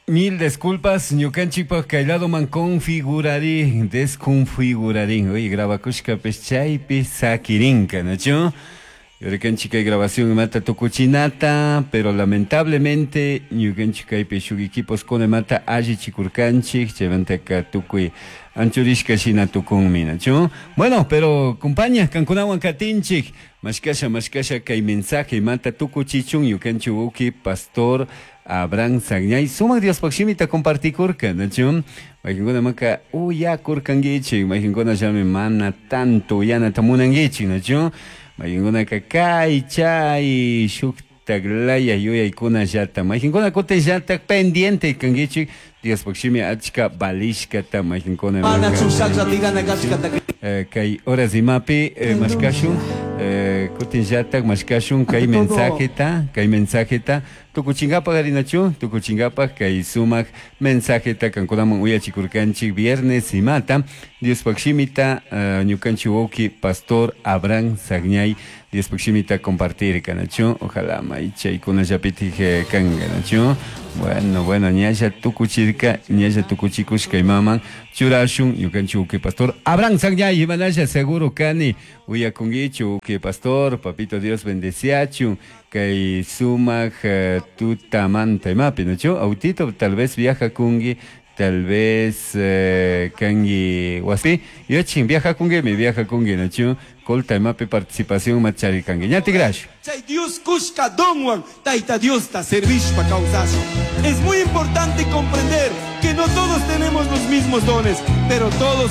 Mil disculpas, ñukanchikpak kay ladoman configurarin, desconfigurarin. Oye, grabakushkapish chaypi sakirinka, nachu? Yurikanchik kay grabación imata tukuchinata, pero lamentablemente ñukanchik kaypi shuk equipos kuna imata allichikurkanchik, chaymantaka tukuy anchurishka shina tukunmi, nachu? Bueno, pero compañía, kankunawan katinchik, mashkasha mashkasha kay mensaje imata tukuchichun ñukanchik wawki pastor Abraham Sagñay sumak Diospaq shimita compartikurka, nachu? Mayqinkuna maka uyakurkankichik, mayqinkuna llami mana tanto uyanata munankichik, nachu? Mayqinkunaka kay chay shuktak laya yuyaykunallata, mayqinkuna kutinllatak pendiente kankichik Diospaq shimi achka valishkata mayqinkuna Mana chushalla tirana kashkata kay horas imapi mashkashun, kutinllatak mashkashun kay mensajeta, kay mensajeta tukuchinkapaq arinachu, tukuchinkapaq kay sumak mensajeta kankunaman uyachikurkanchik viernes imata Diospaq shimita ñukanchik wawki pastor Abraham Sagñay Diospaq shimita compartirka, nachu? Ojalá may chaykunallapitik kanka, nachu? Bueno, bueno, ñalla tukuchirka, ñalla tukuchikushka imaman churashun ñukanchik wawki pastor Abraham Sagñay, imanalla seguro kani uyakunkichu wawki pastor, papito Dios bendeciachun kay sumak tutamanta imapi, nachu? Autito tal vez viajakunki, tal vez kanki wasipi, yachin viajakunkimi, viajakunki, nachu? Colta imapi participación macharikanki. Ñatigrash. Chay Dios kushka donwan Tayta Diosta servishpa kawsashun. Es muy importante comprender que no todos tenemos los mismos dones, pero todos